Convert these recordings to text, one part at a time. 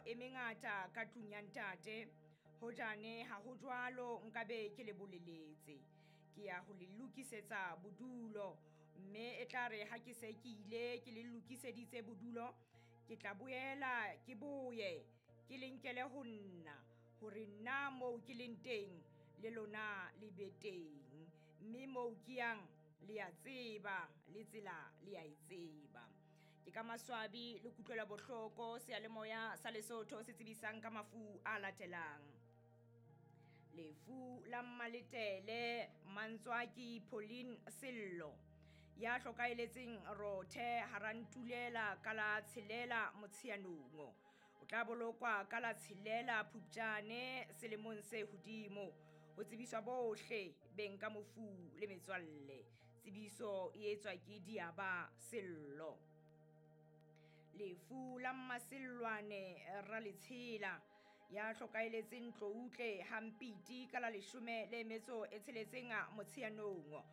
e mengata ka tlung ya Ntate. Hojane ha ho jwalo nkabe ke le boleletse. Ke ya ho le lokisetsa bodulo, mme e tla re ha ke se ke ile ke le lokiseditse bodulo, ke tla boela ke boye ke le nkele ho nna, hore nna moo ke leng teng le lona le be teng. Mme moo ke yang le ya tseba, le tsela le ya e tseba. Ke ka maswabi le kutlwela bohloko seyalemoya sa Lesotho se tsebisang ka mafu a latelang. Lefu la Mmaletele Mantswaki Pauline Sello ya hlokaeletseng Rothe Harantulela ka la tshelela Motsheanong. O tla bolokwa ka la tshelela Phupjane selemong se hodimo. Ho tsebiswa bohle beng ka mofu le metswalle. Tsebiso e etswa ke Diaba Sello. Lefu la Mmasellwane Raletshela ya hlokaeletseng Tloutle Hampiti ka la leshome le metso e tsheletseng Motsheanong.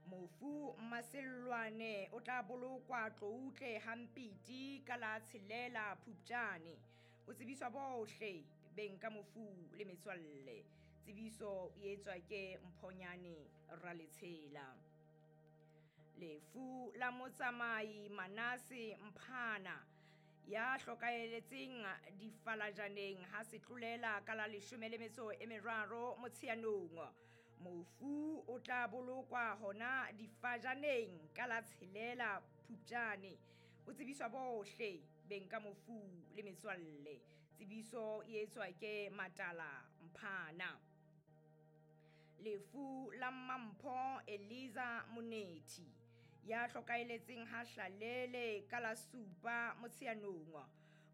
Mofu Mmasellwane o tla bolokwa Tloutle Hampiti ka la tshelela Phupjane. Ho tsebiswa bohle beng ka mofu le metswalle. Tsebiso e etswa ke Mphonyane Raletshela. Lefu la Motsamai Manase Mphana ya hlokaeletseng Difalajaneng ha setlolela ka la leshome le metso e meraro Motsheanong. Mofu o tla bolokwa hona Difajaneng ka la tshelela Phupjane. Ho tsebiswa bohle beng ka mofu le metswalle. Tsebiso e etswa ke Matala Mphana. Lefu la Mmampho Eliza Monethi ya hlokaeletseng ha Hlalele ka la supa Motsheanong.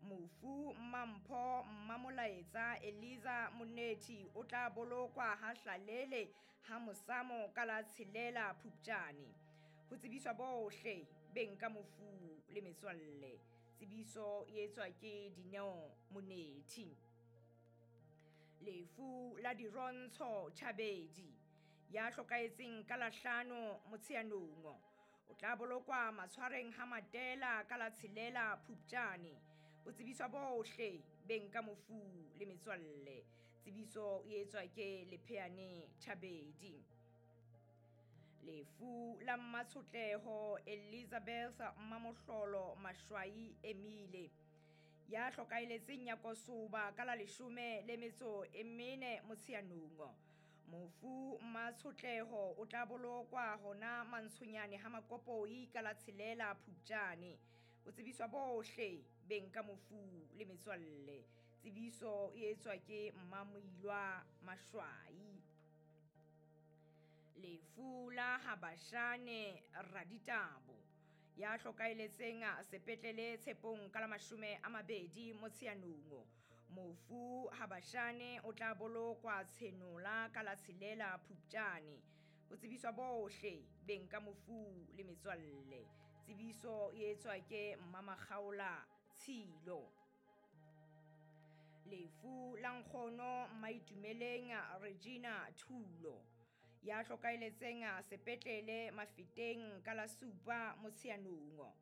Mofu Mmampho Mmamolaetsa Eliza Monethi o tla bolokwa ha Hlalele ha Mosamo ka la tshelela Phupjane. Ho tsebiswa bohle beng ka mofu le metswalle. Tsebiso e etswa ke Dineo Monethi. Lefu la Dirontsho Chabedi ya hlokaetseng ka la hlano Motsheanong. O tla bolokwa matshwareng ha Matela ka la tshelela Phupjane. Ho tsebiswa bohle beng ka mofu le metswalle. Tsebiso e etswa ke Lepheane Chabedi. Lefu la Mmatshotleho Elizabeth Mmamohlolo Mashwai Emile ya hlokaeletseng Nyakosoba ka la leshome le metso e mene Motsheanong. Mofu Mmatshotleho o tla bolokwa hona Mantshonyane ha Makopoi ka la tshelela Phupjane. Ho tsebiswa bohle beng ka mofu le metswalle. Tsebiso e etswa ke Mmamoilwa Mashwai. Lefu la Habashane Raditabo ya hlokaeletseng sepetlele Tshepong ka la 20 Motsheanong. Mofu Habashane o tla bolokwa Tshenola ka la tshelela Phupjane. Ho tsebiswa bohle beng ka mofu le metswalle. Tsebiso e etswa ke Mmamakgaola Tshilo. Lefu la Nkgono Maitumeleng Regina Thulo ya hlokaeletseng sepetlele Mafeteng ka la supa Motsheanong.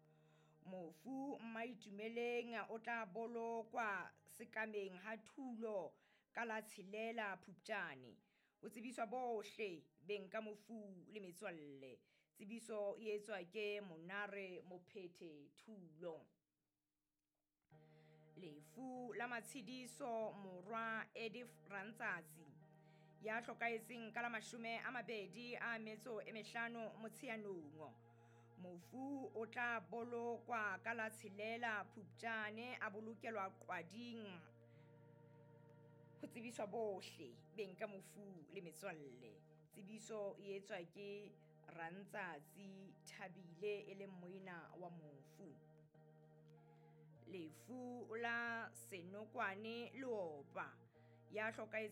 Mofu Maitumeleng o tla bolokwa sekameng ha Thulo ka la tshelela Phupjane. Ho tsebiswa bohle beng ka mofu le metswalle. Tsebiso e etswa ke Monare Mophethe Thulo. Lefu la Matshidiso Morwa Edith Rantsatsi ya hlokaetseng ka la 25 Motsheanong. Mofu o tla bolokwa ka la tshelela Phupjane, a bolokelwa Qwading. Ho tsebiswa bohle beng ka mofu le metswalle. Tsebiso e etswa ke Rantsatsi Thabile e leng moena wa mofu. Lefu la Senokwane Leopa ya hlokaetseng